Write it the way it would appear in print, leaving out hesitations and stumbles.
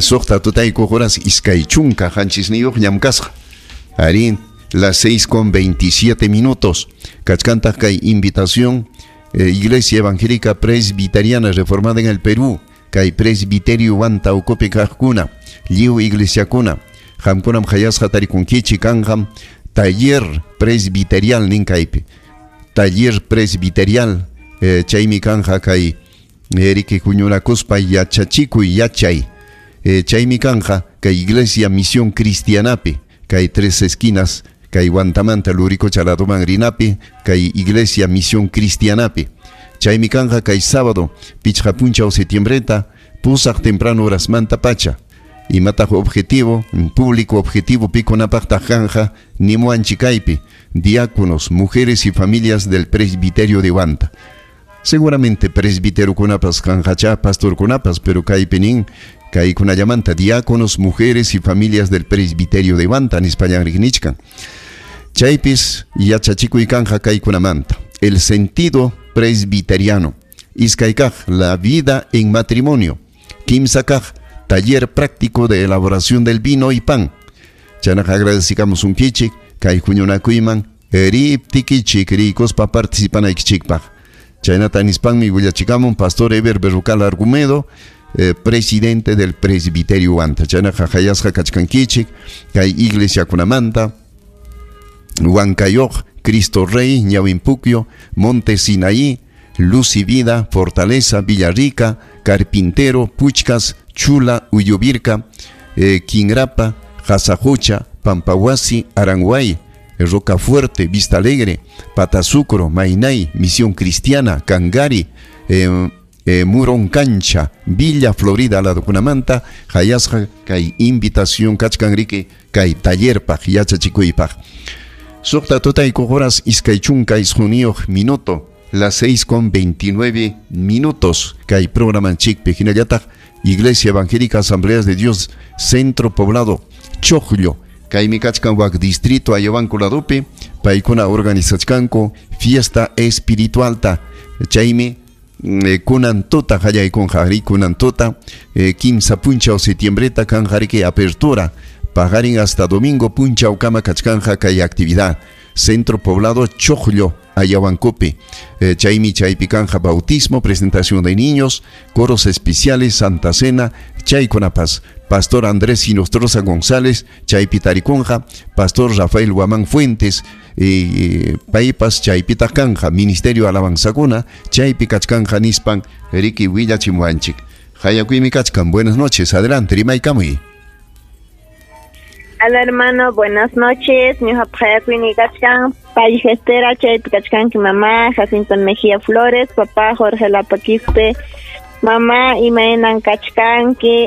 Suqta tutaykuq horas 27 ñam kasqa. Arí, las 6:27 minutos. Kachkantaq kay invitación Iglesia Evangélica Presbiteriana Reformada en el Perú, kay presbiterio Huanta ukupi kaqkuna, lliw iglesiakuna, qamkunam qayasqa tarikunkichik. Kanqam taller presbiterial nin kaypi. Taller presbiterial chaymi kanja kay riki huñunakuspa yachachikuy yachay. Chaymi kanja kay Iglesia Misión Cristianapi, kay Tres Esquinas, kay Huantamanta Luricocha ladoman rinapi, kay Iglesia Misión Cristianapi. Chaymi kanja kay sábado, 5 punchaw setiembreta, 8 temprano horasmanta pacha. Imataq objetivo, público objetivo, pikunapaqtaq kanja, nimuanchik kaypi: diáconos, mujeres y familias del presbiterio de Huanta. Seguramente presbiterokunapas kanqachá, pastorkunapas, pero kaypi nin kaykunallamanta, diáconos, mujeres y familias del presbiterio de Huanta nispallan nichkan. Chaypis yachachikuy kanja kaykunamanta: el sentido presbiteriano. Iskay kaq, la vida en matrimonio. Kimsa kaq, taller práctico de elaboración del vino y pan. Chaynaqa agradecikamusunkichik kay huñunakuyman riptikichik rikuspa participanaykichikpaq. Chaynata nispanmi willachikamun pastor Eber Berrucal Argumedo, presidente del presbiterio Huanta. Chaynaqa qayasqa kachkankichik kay iglesiakunamanta: Huancayoq, Cristo Rey, Ñawinpuquio, Monte Sinaí, Luz y Vida, Fortaleza, Villarrica, Carpintero, Puchcas, Chula, Uyuvirca, Quingrapa, Jasajocha, Pampahuasi, Aranguay, Rocafuerte, Vista Alegre, Patasucro, Mainay, Misión Cristiana, Cangari, Muroncancha, Villa Florida ladokunamanta, qayasqa kay invitación kachkan riki kay tallerpaq yachachikuypaq. 6 tutaykuq horas 29 minuto, las 6:29 minutos kay programanchikpi. Hinallataq Iglesia Evangélica Asambleas de Dios, Centro Poblado Chocllo, kaymi kachkan wak distrito Ayahuanco ladopi, paykuna organizachkanku fiesta espiritualta. Chaymi kunan tuta qallaykunqa, arí, kunan tuta 3 punchaw setiembreta kanja riki apertura, paqarin hasta domingo punchawkama kachkanja kay actividad Centro Poblado Chocllo, Ayahuancopi. Chaymi chaypi kanja bautismo, presentación de niños, coros especiales, Santa Cena, chaykunapas. Pastor Andrés Inostroza González, chaypi tarikunja, Pastor Rafael Guamán Fuentes, paypas chaypita kanja, Ministerio Alabanzakuna, chaypi kachkanja nispan, riki willachimuanchik. Hayakuymi kachkan, buenas noches, adelante, rimaykamuy. Hola, hermano, buenas noches. Ñuqapa hayakuyni kachkan Pay Gestera, chaypi kachkanki mamá Jacinto Mejía Flores, papá Jorge Lapaquispe. Mamá, imaynan kachkanki?